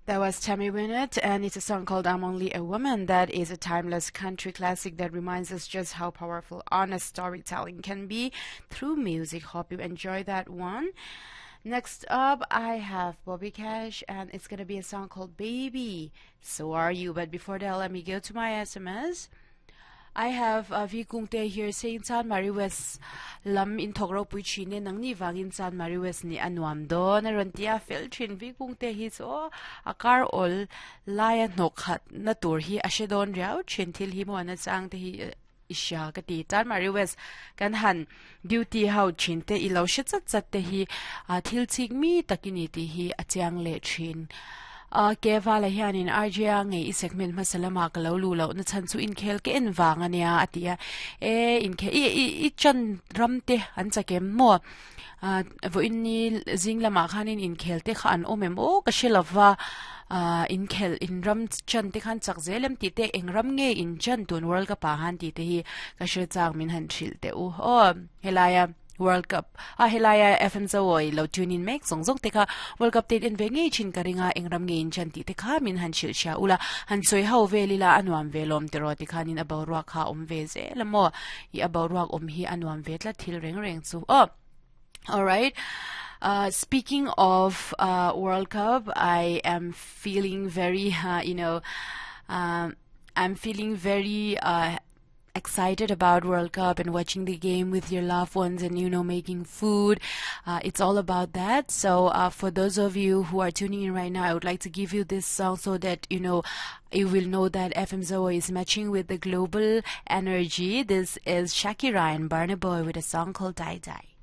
That was Tammy Wynette, and it's a song called I'm Only a Woman. That is a timeless country classic that reminds us just how powerful honest storytelling can be through music. Hope you enjoy that one. Next up, I have Bobby Cash, and it's gonna be a song called Baby. So Are You. But before that, let me go to my SMS. I have uh, V Kungte here saying Chanmari West lam in thawk ropui thin e nangni vangin Chanmari West nih a nuam dawn a rawn ti a fel thin V Kungte hi chu aw a kar awl laia hnawk khat na tur hi a hre dawn riau thin thil hi maw na chang te hi i hria ka ti Chanmari West kan han duty ho thin te i lo hre chat chat te hi a thil chik mi tak i ni tih hi a chiang leh thin. A ke vala hianin RJ-a ngei i segment hmasa lamah ka lo luh loh na chhan chu inkhel ka en vang a nia a ti a. E inkhel i i i chan ram te an chak em maw? A vawiin ni zing lamah khanin inkhel te kha an awm em aw ka hre lova a inkhel in ram chan te khan chak zel em tih te eng ram nge in chan tun World Cup ah han tih te hi ka hre chak min han hrilh teh u aw helaia World Cup a helaia FM Zoawi lo tune in mek zawng zawng te kha World Cup te in en ve ngei thin ka ring a eng ram nge in chan tih te kha min han hrilh hria ula han sawi ho vel ila a nuam ve lawm tiraw tikhanin a boruak kha a awm ve zel a maw i a boruak awm hi a nuam ve tlat thil reng reng chu aw Alright uh, speaking of uh, World Cup I am feeling very uh, you know um, I'm feeling very uh, excited about World Cup and watching the game with your loved ones and you know making food. Uh, it's all about that. So uh, for those of you who are tuning in right now, I would like to give you this song so that you know you will know that FM Zoa is matching with the global energy. This is Shakira and Burna Boy with a song called Dai Dai.